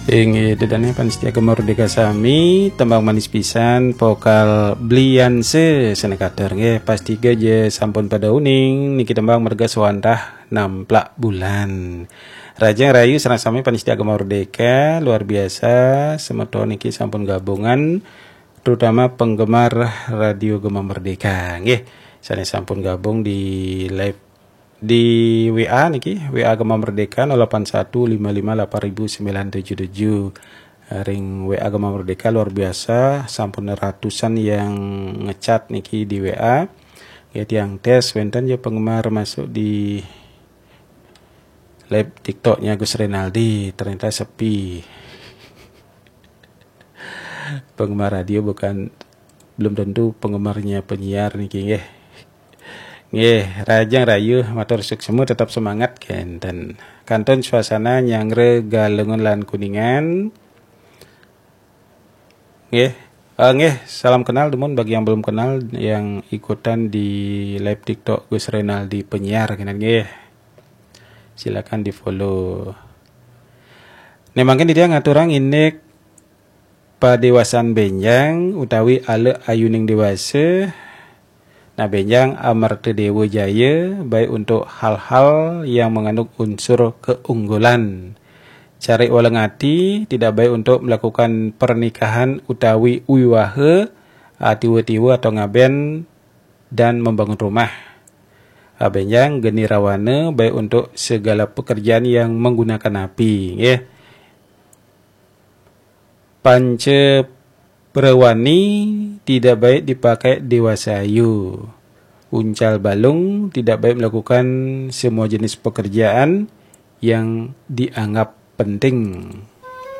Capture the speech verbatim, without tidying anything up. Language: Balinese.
Inggih, ida dané pamiarsa Gema Merdeka sami, tembang manis pisan, vokal Blianse Senekatur. Nggih, pastiké ja sampun pada uning, niki tembang margi wantah Namplak Bulan. Rahajeng rahayu sareng sami pamiarsa Gema Merdeka, luar biasa, semeton niki sampun gabungan, terutama penggemar Radio Gema Merdeka. Nggih, sané sampun gabung di live di W A niki, W A Gema Merdeka nol delapan satu lima lima delapan ribu sembilan tujuh tujuh. Ring W A Gema Merdeka luar biasa, sampun ratusan yang ngechat niki di W A. Ya, tiang tes wénten ya penggemar masuk di live TikToknya Gus Renaldi, ternyata sepi. Penggemar radio bukan, belum tentu penggemarnya penyiar niki, nggih. Nggih, rahajeng rahayu, matur suksma, tetap semangat kénten. Kantun suasana nyanggra Galungan lan Kuningan. Nggih. Eh, nggih, salam kenal dumun bagi yang belum kenal, yang ikutan di live TikTok Gus Renaldi Penyiar kénten, nggih. Silakan di-follow. Nah, mangkin dia ngaturang indik padéwasan bénjang utawi ala ayuning déwasa. Nah, bénjang Amerta Déwa Jaya baik untuk hal-hal yang mengandung unsur keunggulan. Cari walengati tidak baik untuk melakukan pernikahan utawi wiwaha, ah, tiwa-tiwa atau ngaben dan membangun rumah. Ah, bénjang Geni Rawana baik untuk segala pekerjaan yang menggunakan api, nggih. Panca Prawani tidak baik dipakai déwasa ayu. Uncal Balung tidak baik melakukan semua jenis pekerjaan yang dianggap penting.